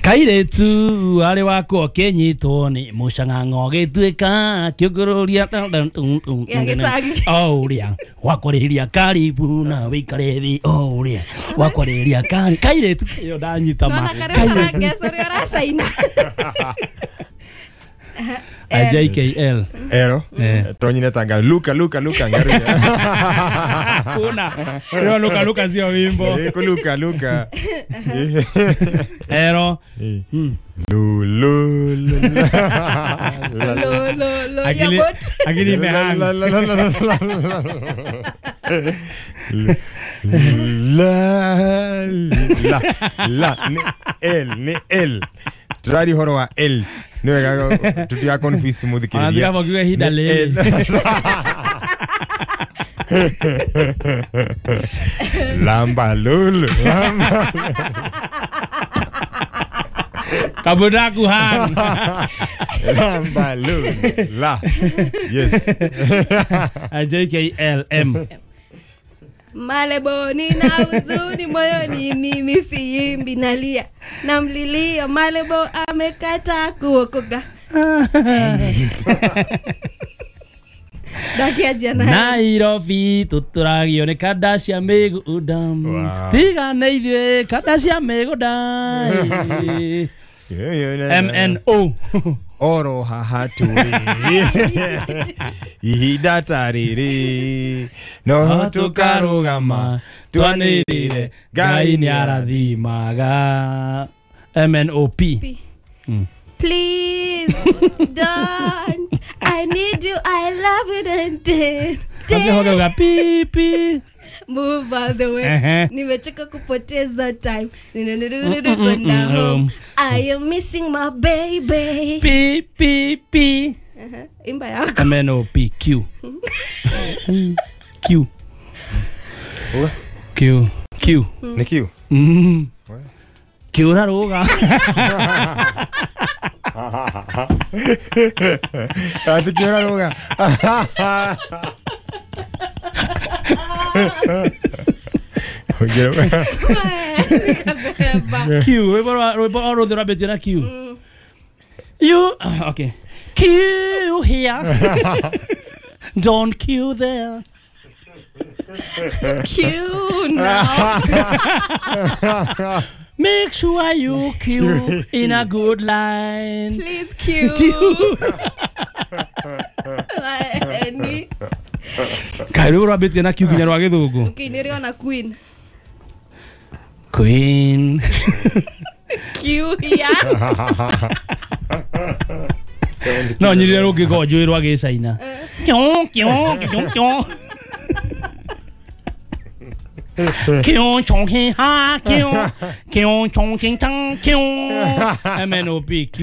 Kairetu arĩ wakwa ũkĩnyitwo nĩ mũcang'ang'o gĩtuĩka kĩũngũrũria Ya gĩcagi. o ũrĩa wakwarĩria karibu na wĩikare thĩ o ũrĩa wakwarĩria kairetu ĩyo ndanyita ma Nona karĩa karangeca ũrĩa ũracaina. JKL Ero. Eh. Tonyine tanga luka luka luka ngari. Kuna ĩyo luka luka sio wimbo. Luka luka. Ero. Lu lu lu. Lo lo lo ya Akili bot. akili imehang. La la la la la la la la ni L ni L turari horo wa L ni wega tutiga confuse muthikiriria. Anathiga kiuga ihinda rĩrĩ. Lamba lulu lamba. Kabudaku hang. Lamba lulu la. Yes. JKL M. Malebo nina huzuni moyoni, mimi siimbi, nalia namlilia Malebo amekata kuokoka. Ndakianjia na Nairobi tutũragio nĩ kanda cia mĩgũnda. Wow. Tiga nĩ ithuĩ kanda cia mĩgũnda. MNO. Oro haha tũrĩ ihinda ta rĩrĩ no tũkarũgama twanĩrĩre Ngai nĩ arathimaga. MNOP. P. Please don't, I need you, I love it and did Akĩhoga pi pi. move out the way. Ehe. Nimechoka kupoteza time. Ninanirudi kwenda home. I am missing my baby. Pi pi pi. Imba yako. MNOP Q. Q. Q. Q. Nĩ Q. Q ũraruga. Ati Q ũraruga. Q rwĩmbo o rwothe rwambĩtie na Q. You okay. Q here. Don't queue there. Q now. Make sure you queue in a good line. Please Q. Q. Any. Kaĩ rwĩmbo rwambĩtie na Q nginya rwa gĩthũngũ. Okay, nĩrĩona Queen. Queen. Q here. No nyirire rũngĩkorwo njũĩ rwa gĩcaina. Kyo kyo kyo kyo. Kyo chong he ha kyo. Kyo chong ching chang kyo. MNOP Q.